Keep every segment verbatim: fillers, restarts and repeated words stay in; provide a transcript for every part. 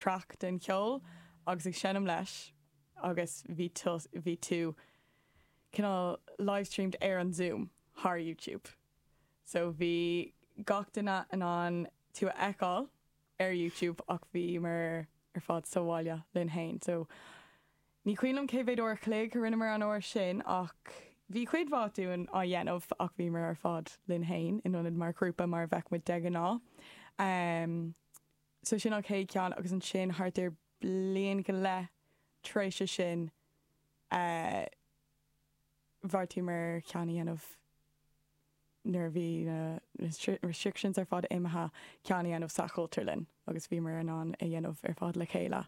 Track den cheol agus ag seinm leis agus bhí bhí tú cineál livestreamed ar an Zoom thar YouTube. So bhí gach duine in ann tú a fheiceáil ar YouTube ach bhí mar ar fad sa bhaile linn féin. So ní cuimhin liom cé mhéad uair a chloig a rinneamar an uair sin ach bhí cuid mhaith dúinn á dhéanamh ach bhí mar ar fad linn féin in ionad mar ghrúpa mar bheadh muid de ghnáth. Um, so sin an chéad cheann agus ansin thart ar bliain go leith tar éis sin uh, bheartaíomar ceann a dhéanamh nuair a bhí na restrictions ar fad imithe ceann a dhéanamh sa Chultúrlann agus bhíomar in ann a dhéanamh ar fad le chéile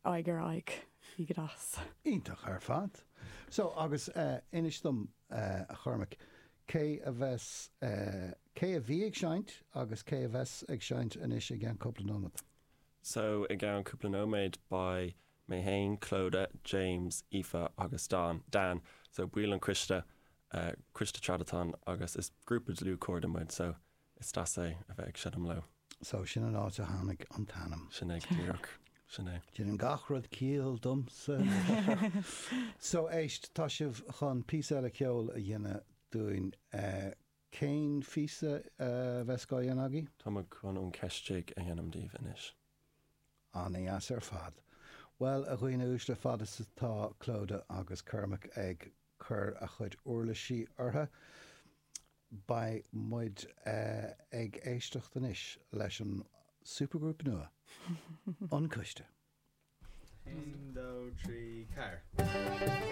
aghaidh ar aghaidh bhí go deas. Iontach ar fad. So agus uh, inis dom uh, a Chormaic, cé a bheas uh, cé a bhí ag seinnt agus cé a bheas ag seinnt anois i gceann cúpla nóiméad. So i gceann cúpla nóiméad beidh mé féin Clodagh, James, Aoife agus Dan. Dan, so baill an coiste uh, coiste Tradatan agus is grúpa dlúthchairde muid, so is deas é a bheith ag seinm leo. So sin an áit a tháinig an t-ainm. Sin é díreach sin é. Déanann gach rud ciall domsa. so éist tá sibh chun píosa eile ceoil a dhéanamh dúinn uh, cén phíosa uh, bheas á dhéanamh agaibh? Tá chun an ceistigh a dhéanamh daoibh anois. An-deas ar fad. Well a dhaoine uaisle fad is atá Clodagh agus Cormac ag cur a chuid uirlisí orthu. Beidh muid uh, ag éisteacht anois leis an supergrúpa nua. An Coiste. Aon, dó, trí, ceathair.